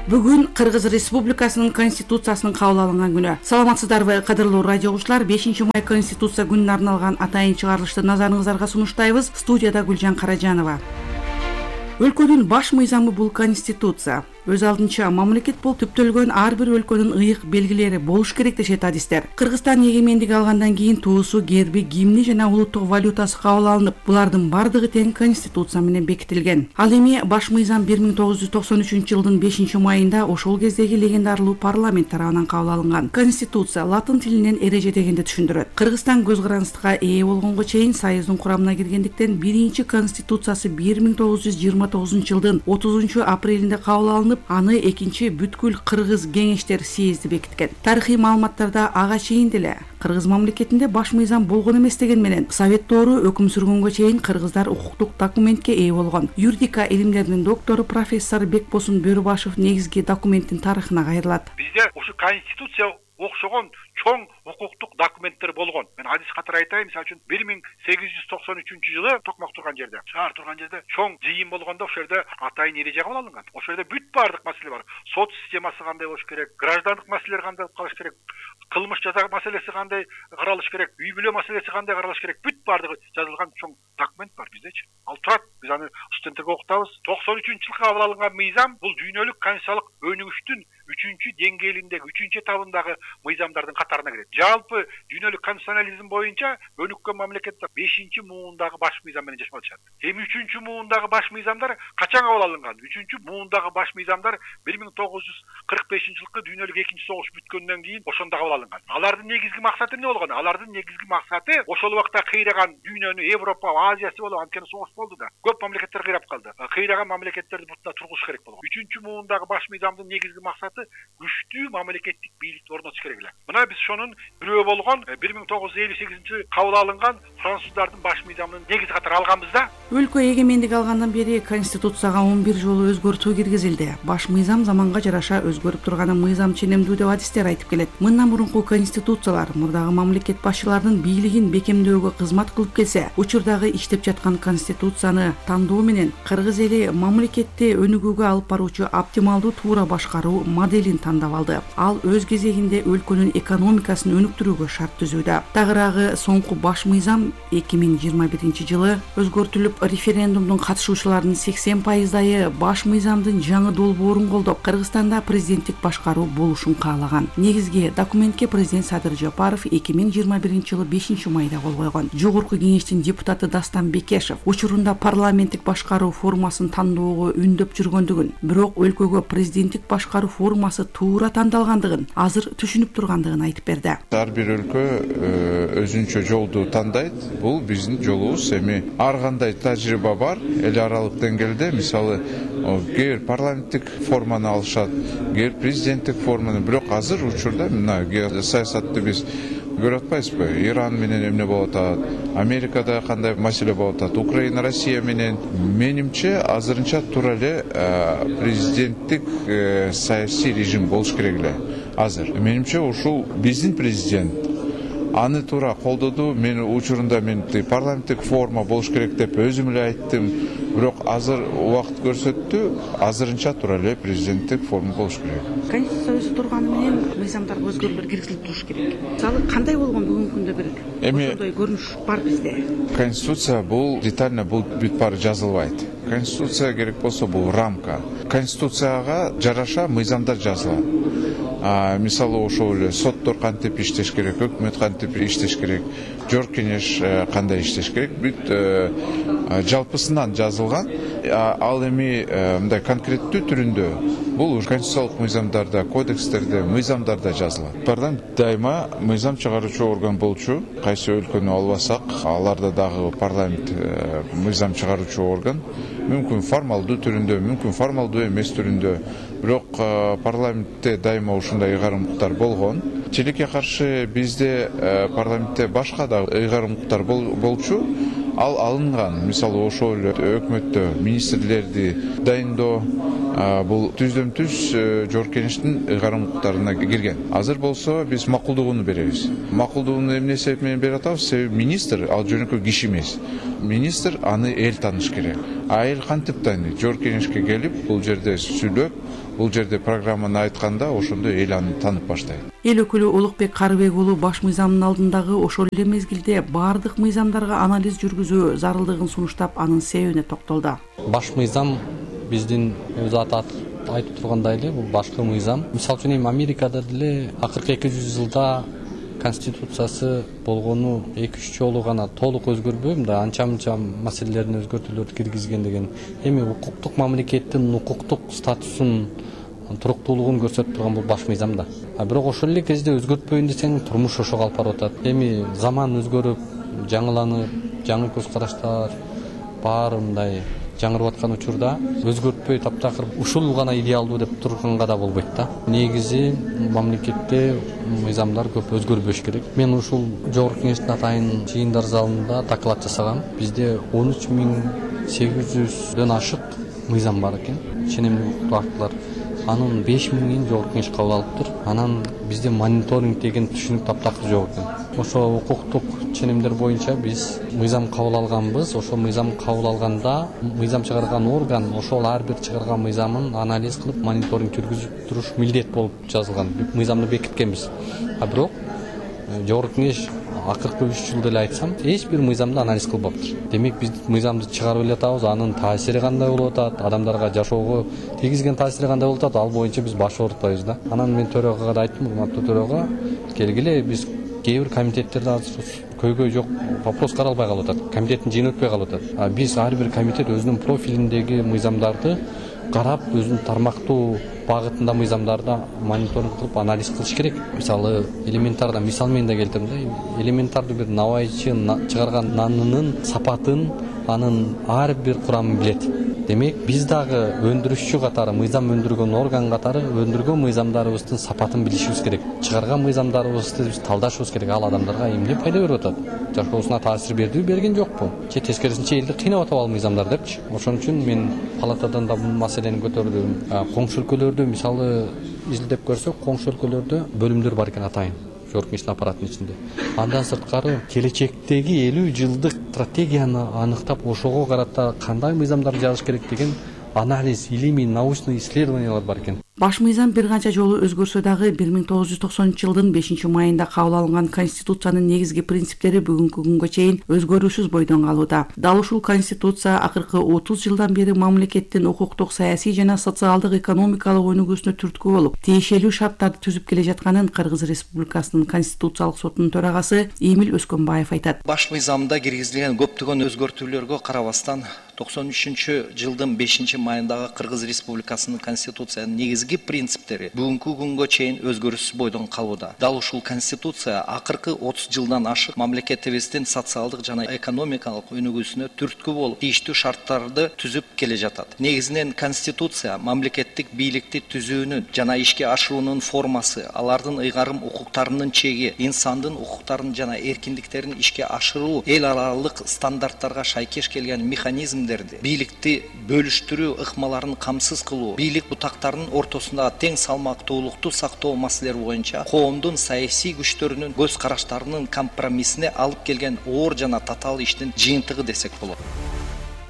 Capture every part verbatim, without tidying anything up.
Бүгүн Кыргыз Республикасынын Конституциясынын кабыл алынган күнү. Саламатсыздарбы, кадырлуу радио угуучулар? бешинчи май Конституция күнүнө арналган атайын чыгарылышты назарыңыздарга сунуштайбыз. Студияда Гүлжан Каражанова. Өлкөнүн баш мыйзамы бул Конституция. Өз алдынча мамлекет бул түптөлгөн ар бир өлкөнүн ыйык белгилери болуш керек дешет адистер. Кыргызстан эгемендик алгандан кийин туусу, герби, гимни жана улуттук валютасы кабыл алынып, булардын бардыгы тең Конституция менен бекитилген. Ал эми баш мыйзам бир миң тогуз жүз токсон үчүнчү жылдын бешинчи майында ошол кездеги легендарлуу парламент тарабынан кабыл алынган. Конституция латын тилинен эреже дегенди түшүндүрөт. Кыргызстан көз карандыкка ээ болгонго чейин Союздун курамына киргендиктен биринчи Конституциясы бир миң тогуз жүз жыйырма тогузунчу жылдын отузунчу апрелинде кабыл алынып, аны экинчи бүткүл Кыргыз кеңештер съезди бекиткен. Тарыхый маалыматтарда ага чейин деле Кыргыз мамлекетинде баш мыйзам болгон эмес деген менен Советтору өкүм сүргөнгө чейин кыргыздар укуктук документке ээ болгон. Юридика илимдеринин доктору профессор Бекбосун Бөрүбашев негизги документтин тарыхына кайрылат. Бизде ушу Конституция окшогон чоң укуктук документтер болгон. Мен адис катары айтайын, мисалы үчүн бир миң сегиз жүз токсон үчүнчү жылы Токмак турган жерде, шаар турган жерде чоң жыйын болгондо ошол жерде атайын эреже кабыл алынган. Ошол жерде бүт баардык маселе бар. Сот системасы кандай болуш керек, граждандык маселелер кандай болуп калыш керек, кылмыш жаза маселеси кандай каралыш керек, үй бүлө маселеси кандай каралыш керек, бүт баардыгы жазылган чоң документ бар биздечи. Ал турат. Биз аны студенттерге окутабыз. токсон үчүнчү жылы кабыл алынган мыйзам бул дүйнөлүк конституциялык өнүгүштүн үчүнчү деңгээлиндеги, үчүнчү этабындагы мыйзамдардын катарына кирет. Жалпы дүйнөлүк конституционализм боюнча өнүккөн мамлекеттер бешинчи муундагы баш мыйзам менен жашап атышат. Эми үчүнчү муундагы баш мыйзамдар качан кабыл алынган? үчүнчү муундагы баш мыйзамдар бир миң тогуз жүз кырк бешинчи жылкы дүйнөлүк экинчи согуш бүткөндөн кийин ошондо кабыл алынган. Алардын негизги максаты эмне болгон? Алардын негизги максаты ошол убакта кыйраган дүйнөнү, Европа, Азиясы болуп, анткени согуш болду да. Көп мамлекеттер кыйрап калды. Кыйраган мамлекеттерди бутуна тургуш керек болгон. үчүнчү муундагы баш мыйзамдын негизги максаты күчтүү мамлекеттик бийликти орнотуш керек эле. Мына биз ошонун бирөө болгон бир миң тогуз жүз элүү сегизинчи жылы кабыл алынган француздардын баш мыйзамын негизи катары алганбыз да. Өлкө эгемендик алгандан бери Конституцияга он бир жолу өзгөртүү киргизилди. Баш мыйзам заманга жараша өзгөрүп турганы мыйзам ченемдүү деп адистер айтып келет. Мындан мурунку конституциялар мурдагы мамлекет башчыларынын бийлигин бекемдөөгө кызмат кылып келсе, учурдагы иштеп жаткан конституцияны тандоо менен кыргыз эли мамлекетти өнүгүүгө алып баруучу оптималдуу туура башкаруу моделин тандап алды. Ал өз кезегинде өлкөнүн экономикасын өнүктүрүүгө шарт түзүүдө. Тагыраагы соңку баш мыйзам эки миң жыйырма биринчи жылы өзгөртүлүп, референдумдун катышуучуларынын сексен пайыздайы баш мыйзамдын жаңы долбоорун колдоп, Кыргызстанда президенттик башкаруу болушун каалаган. Негизги документке президент Садыр Жапаров эки миң жыйырма биринчи жылы бешинчи майда кол койгон. Жогорку кеңештин депутаты Дастан Бекешев учурунда парламенттик башкаруу формасын тандоого үндөп жүргөндүгүн, бирок өлкөгө президенттик башкаруу формасы туура тандалгандыгын азыр түшүнүп тургандыгын айтып берди. Ар бир өлкө өзүнчө жолду тандайт. Бул биздин жолубуз. Эми ар кандай тажрыйба бар эл аралык деңгээлде. Мисалы, кээ бир парламенттик форманы алышат, кээ бир президенттик форманы. Бирок азыр учурда мына саясатты биз көрүп атпайбызбы? Иран менен эмне болуп атат, Америкада кандай маселе болуп атат, Украина, Россия менен. Менимче азырынча туура эле президенттик саясий режим болуш керек эле. Азыр менимче ушул биздин президент аны туура колдоду. Мен учурунда мен парламенттик форма болуш керек деп өзүм эле айттым. Бирок азыр убакыт көрсөттү, азырынча туура эле президенттик форма болуш керек. Конституция өзү турганы менен мыйзамдарга өзгөрүүлөр киргизилип туруш керек. Мисалы, кандай болгон бүгүнкү күндө бир ошондой көрүнүш бар бизде? Конституция бул детально бул бүт баары жазылбайт. Конституция керек болсо бул рамка. Конституцияга жараша мыйзамдар жазылат. А, мисалы, ошол эле соттор кантип иштеш керек, өкмөт кантип иштеш керек, жогорку кеңеш кандай иштеш керек, бүт жалпысынан жазылган. Ал эми мындай конкреттүү түрүндө бул конституциялык мыйзамдарда, кодекстерде, мыйзамдарда жазылат. Парламент дайыма мыйзам чыгаруучу орган болчу. Кайсы өлкөнү албасак, аларда дагы парламент мыйзам чыгаруучу орган. Мүмкүн формалдуу түрүндө, мүмкүн формалдуу эмес түрүндө. Бирок парламентте дайыма ушундай ыйгарым-укуктар болгон. Тилекке каршы бизде парламентте башка да ыйгарым-укуктар болчу. Ал алынган. Мисалы, ошол өкмөттө министрлерди дайындоо, бул түздөн түз Жогорку Кеңештин ыйгарым укуктарына кирген. Азыр болсо биз макулдугун беребиз. Макулдугун эмне себеп менен берип атабыз? Себеби министр ал жөнөкөй киши эмес. Министр аны эл тааныш керек. А эл кантип тааныйт? Жогорку Кеңешке келип, бул жерде сүйлөп, бул жерде программаны айтканда ошондо эл аны таанып баштайт. Эл өкүлү Улукбек Карыбек уулу баш мыйзамдын алдындагы ошол эле мезгилде баардык мыйзамдарга анализ жүргүзүү зарылдыгын сунуштап, анын себебине токтолду. Баш мыйзам биздин өзү аты айтып тургандай эле, бул башкы мыйзам. Мисалы үчүн эми Америкада деле акыркы эки жүз жылда конституциясы болгону эки үч жолу гана толук өзгөрбөй, мындай анча-мынча маселелерин өзгөртүүлөрдү киргизген деген. Эми укуктук мамлекеттин укуктук статусун, туруктуулугун көрсөтүп турган бул баш мыйзам да. А бирок ошол эле кезде өзгөртпөйүн десең, турмуш ошого алып барып атат. Эми заман өзгөрүп, жаңыланып, жаңы көз караштар баары мындай жаңырып аткан учурда өзгөртпөй таптакыр ушул гана идеалдуу деп турганга да болбойт да. Негизи мамлекетте мыйзамдар көп өзгөрбөш керек. Мен ушул Жогорку Кеңештин атайын жыйындар залында доклад жасагам. Бизде он үч миң сегиз жүздөн ашык мыйзам бар экен. Ченемдик укуктук актылар. Анын беш миңин Жогорку Кеңеш кабыл алыптыр. Анан бизде мониторинг деген түшүнүк таптакыр жок экен. Ошо укуктук ченемдер боюнча биз мыйзам кабыл алганбыз. Ошо мыйзам кабыл алганда мыйзам чыгарган орган ошол ар бир чыгарган мыйзамын анализ кылып, мониторинг жүргүзүп туруш милдет болуп жазылган. Мыйзамды бекиткенбиз. А бирок Жогорку Кеңеш акыркы үч жылда эле айтсам, эч бир мыйзамды анализ кылбаптыр. Демек биз мыйзамды чыгарып эле атабыз, анын таасири кандай болуп атат, адамдарга жашоого тийгизген таасири кандай болуп атат, ал боюнча биз баш оорутпайбыз да. Анан мен төрөгага да айттым, урматтуу төрөгага, келгиле биз кээ бир комитеттерде азыр көйгөй жок, вопрос каралбай калып атат. Комитеттин жыйыны өтпөй калып атат. А биз ар бир комитет өзүнүн профилиндеги мыйзамдарды карап, өзүнүн тармактуу багытында мыйзамдарды мониторинг кылып, анализ кылыш керек. Мисалы, элементарда мисал менен да келтирем да. Элементардуу бир набайчы чыгарган нанынын сапатын, анын ар бир курамын билет. Демек, биз дагы өндүрүшчү катары, мыйзам өндүргөн орган катары өндүргөн мыйзамдарыбыздын сапатын билишибиз керек. Чыгарган мыйзамдарыбызды биз талдашыбыз керек. Ал адамдарга эмне пайда берип атат? Жашоосуна таасир бердиби, берген жокпу? Же тескерисинче элди кыйнап атып ал мыйзамдар депчи. Ошон үчүн мен палатадан да бул маселени көтөрдүм. Коңшу өлкөлөрдө мисалы изилдеп көрсөк, коңшу өлкөлөрдө бөлүмдөр бар экен атайын. Жогорку Кеңештин аппаратынын ичинде. Андан сырткары келечектеги элүү жылдык стратегияны аныктап, ошого карата кандай мыйзамдар жазыш керек деген анализ, илимий, научный исследованиялар бар экен. Баш мыйзам бир канча жолу өзгөрсө дагы бир миң тогуз жүз токсонунчу жылдын бешинчи майында кабыл алынган Конституциянын негизги принциптери бүгүнкү күнгө чейин өзгөрүүсүз бойдон калууда. Дал ушул Конституция акыркы отуз жылдан бери мамлекеттин укуктук, саясий жана социалдык, экономикалык өнүгүүсүнө түрткү болуп, тиешелүү шарттарды түзүп келе жатканын Кыргыз Республикасынын Конституциялык сотунун төрагасы Эмил Өскөнбаев айтат. Баш мыйзамда киргизилген көптөгөн өзгөртүүлөргө карабастан токсон үчүнчү жылдын бешинчи майындагы Кыргыз Республикасынын Конституциянын негизги принциптери бүгүнкү күнгө чейин өзгөрүүсүз бойдон калууда. Дал ушул Конституция акыркы отуз жылдан ашык мамлекетибиздин социалдык жана экономикалык өнүгүүсүнө түрткү болуп, тийиштүү шарттарды түзүп келе жатат. Негизинен Конституция мамлекеттик бийликти түзүүнүн жана ишке ашыруунун формасы, алардын ыйгарым укуктарынын чеги, инсандын укуктарын жана эркиндиктерин ишке ашыруу, эл аралык стандарттарга шайкеш келген механизмдерди, бийликти бөлүштүрүү ыкмаларын камсыз кылуу, бийлик бутактарынын ортосунда тең салмактуулукту сактоо маселелери боюнча коомдун саясий күчтөрүнүн көз караштарынын компромиссине алып келген оор жана татаал иштин жыйынтыгы десек болот.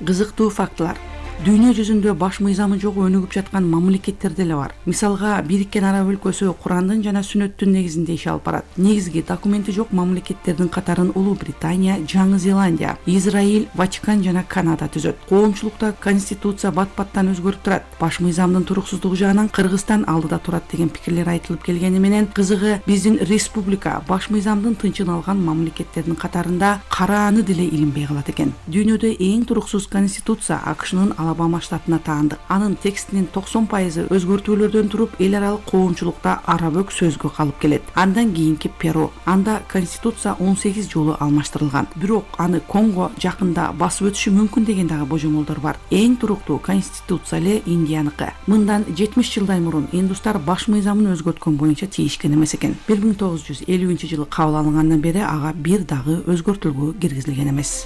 Кызыктуу фактылар. Дүйнө жүзүндө баш мыйзамы жок өнүгүп жаткан мамлекеттер деле бар. Мисалга, Бириккен Араб өлкөсү Курандын жана Сүннөттүн негизинде иш алып барат. Негизги документи жок мамлекеттердин катарын Улуу Британия, Жаңы Зеландия, Израиль, Ватикан жана Канада түзөт. Коомчулукта Конституция бат-баттан өзгөрүп турат. Баш мыйзамдын туруксуздугу жагынан Кыргызстан алдыда турат деген пикирлер айтылып келгени менен, кызыгы биздин республика баш мыйзамдын тынчын алган мамлекеттердин катарында карааны деле илинбей калат экен. Дүйнөдө эң туруксуз конституция АКШнын Алабама штатына таандык. Анын текстинин токсон пайызы өзгөртүүлөрдөн туруп, эл аралык коомчулукта арабөк сөзгө калып келет. Андан кийинки Перу. Анда конституция он сегиз жолу алмаштырылган. Бирок аны Конго жакында басып өтүшү мүмкүн деген дагы божомолдор бар. Эң туруктуу конституция эле Индияныкы. Мындан жетимиш жылдай мурун индустар баш мыйзамын өзгөрткөн боюнча тийишкен эмес экен. бир миң тогуз жүз элүүнчү жылы кабыл алынгандан бери ага бир дагы өзгөртүүгө киргизилген эмес.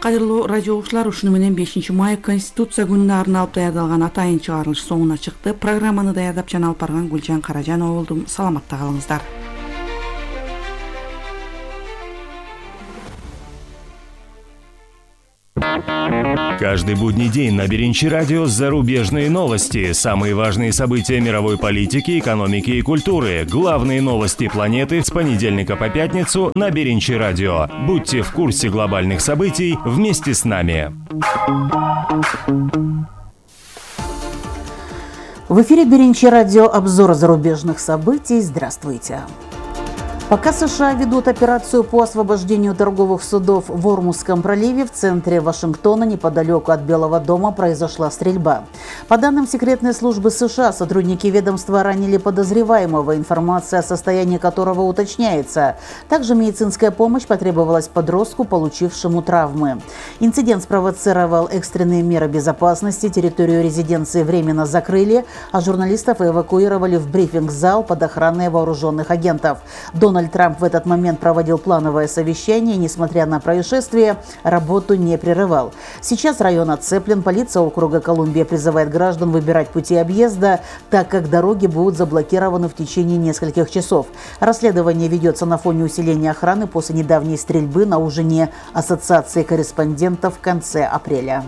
Кадырлуу радио угуучулар, ушуну менен бешинчи май Конституция күнүнө арналып даярдалган атайын чыгарылыш соңуна чыкты. Программаны даярдап жана алып барган Гүлжан Каражанова болдум. Саламатта калыңыздар. Каждый будний день на Беренчи радио зарубежные новости, самые важные события мировой политики, экономики и культуры, главные новости планеты с понедельника по пятницу на Беренчи радио. Будьте в курсе глобальных событий вместе с нами. В эфире Беренчи радио, обзор зарубежных событий. Здравствуйте. Пока США ведут операцию по освобождению торговых судов в Ормузском проливе, в центре Вашингтона, неподалеку от Белого дома, произошла стрельба. По данным секретной службы США, сотрудники ведомства ранили подозреваемого, информация о состоянии которого уточняется. Также медицинская помощь потребовалась подростку, получившему травмы. Инцидент спровоцировал экстренные меры безопасности, территорию резиденции временно закрыли, а журналистов эвакуировали в брифинг-зал под охраной вооруженных агентов. Дональд Трамп в этот момент проводил плановое совещание и, несмотря на происшествие, работу не прерывал. Сейчас район оцеплен, полиция округа Колумбия призывает граждан выбирать пути объезда, так как дороги будут заблокированы в течение нескольких часов. Расследование ведется на фоне усиления охраны после недавней стрельбы на ужине Ассоциации корреспондентов в конце апреля.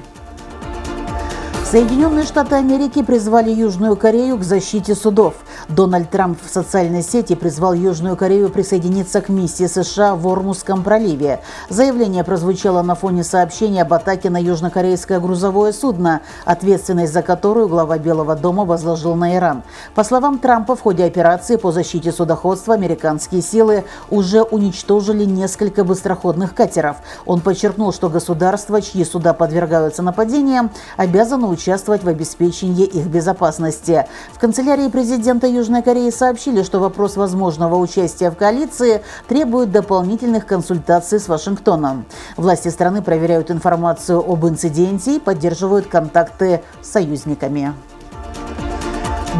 Соединенные Штаты Америки призвали Южную Корею к защите судов. Дональд Трамп в социальной сети призвал Южную Корею присоединиться к миссии США в Ормузском проливе. Заявление прозвучало на фоне сообщения об атаке на южнокорейское грузовое судно, ответственность за которую глава Белого дома возложил на Иран. По словам Трампа, в ходе операции по защите судоходства американские силы уже уничтожили несколько быстроходных катеров. Он подчеркнул, что государства, чьи суда подвергаются нападениям, обязаны участвовать участвовать в обеспечении их безопасности. В канцелярии президента Южной Кореи сообщили, что вопрос возможного участия в коалиции требует дополнительных консультаций с Вашингтоном. Власти страны проверяют информацию об инциденте и поддерживают контакты с союзниками.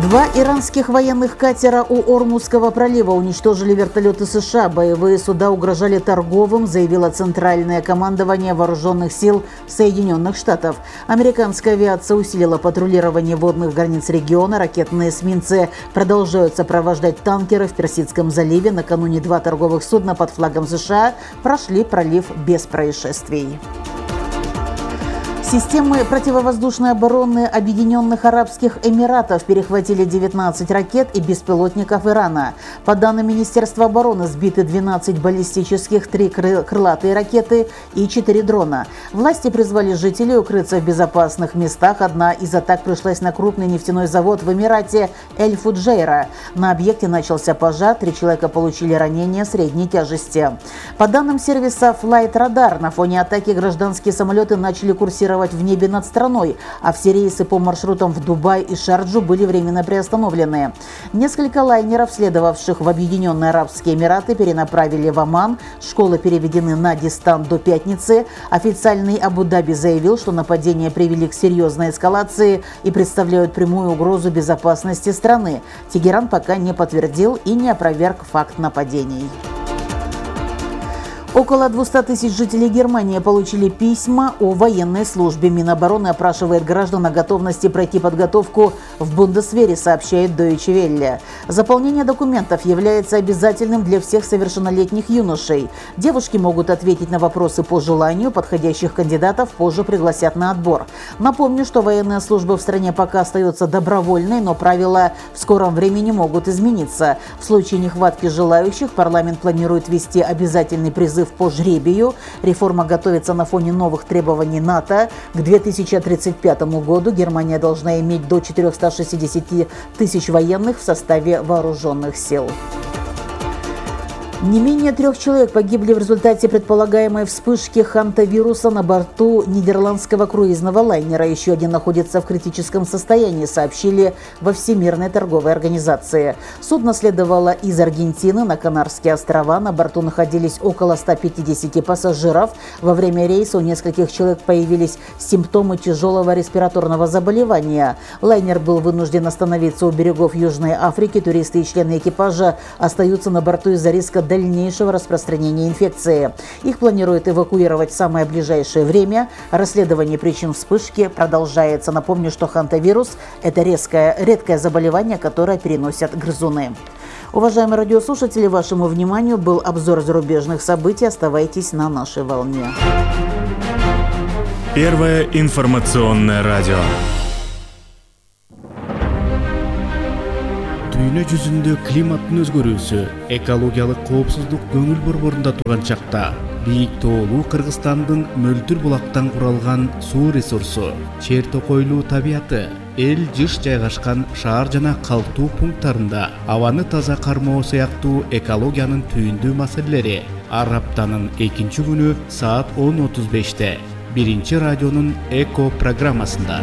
Два иранских военных катера у Ормузского пролива уничтожили вертолеты США. Боевые суда угрожали торговым, заявило Центральное командование Вооруженных сил Соединенных Штатов. Американская авиация усилила патрулирование водных границ региона. Ракетные эсминцы продолжают сопровождать танкеры в Персидском заливе. Накануне два торговых судна под флагом США прошли пролив без происшествий. Системы противовоздушной обороны Объединенных Арабских Эмиратов перехватили девятнадцать ракет и беспилотников Ирана. По данным Министерства обороны, сбиты двенадцать баллистических, три крылатые ракеты и четыре дрона. Власти призвали жителей укрыться в безопасных местах. Одна из атак пришлась на крупный нефтяной завод в Эмирате Эль-Фуджейра. На объекте начался пожар, три человека получили ранения средней тяжести. По данным сервиса Flight Radar, на фоне атаки гражданские самолеты начали курсировать в небе над страной, а все рейсы по маршрутам в Дубай и Шарджу были временно приостановлены. Несколько лайнеров, следовавших в Объединенные Арабские Эмираты, перенаправили в Оман. Школы переведены на дистант до пятницы. Официальный Абу-Даби заявил, что нападения привели к серьезной эскалации и представляют прямую угрозу безопасности страны. Тегеран пока не подтвердил и не опроверг факт нападений. Около двухсот тысяч жителей Германии получили письма о военной службе. Минобороны опрашивает граждан о готовности пройти подготовку в Бундесвере, сообщает Deutsche Welle. Заполнение документов является обязательным для всех совершеннолетних юношей. Девушки могут ответить на вопросы по желанию, подходящих кандидатов позже пригласят на отбор. Напомню, что военная служба в стране пока остается добровольной, но правила в скором времени могут измениться. В случае нехватки желающих парламент планирует ввести обязательный призыв по жребию. Реформа готовится на фоне новых требований НАТО. К две тысячи тридцать пятому году Германия должна иметь до четырёхсот шестидесяти тысяч военных в составе вооруженных сил. Не менее трех человек погибли в результате предполагаемой вспышки хантавируса на борту нидерландского круизного лайнера. Еще один находится в критическом состоянии, сообщили во Всемирной торговой организации. Судно следовало из Аргентины на Канарские острова. На борту находились около ста пятидесяти пассажиров. Во время рейса у нескольких человек появились симптомы тяжелого респираторного заболевания. Лайнер был вынужден остановиться у берегов Южной Африки. Туристы и члены экипажа остаются на борту из-за риска дальнейшего распространения инфекции. Их планируют эвакуировать в самое ближайшее время. Расследование причин вспышки продолжается. Напомню, что хантавирус – это резкое, редкое заболевание, которое переносят грызуны. Уважаемые радиослушатели, вашему вниманию был обзор зарубежных событий. Оставайтесь на нашей волне. Первое информационное радио. Дүйнө жүзүндө климаттын өзгөрүүсү, экологиялык коопсуздук көңүл борборунда турган чакта бийик тоолуу Кыргызстандын мөлтүр булактан куралган суу ресурсу, чер токойлуу табияты, эл жыш жайгашкан шаар жана калктуу пункттарында абаны таза кармоо сыяктуу экологиянын түйүндүү маселелери ар аптанын экинчи күнү саат он отуз беште биринчи радионун эко программасында.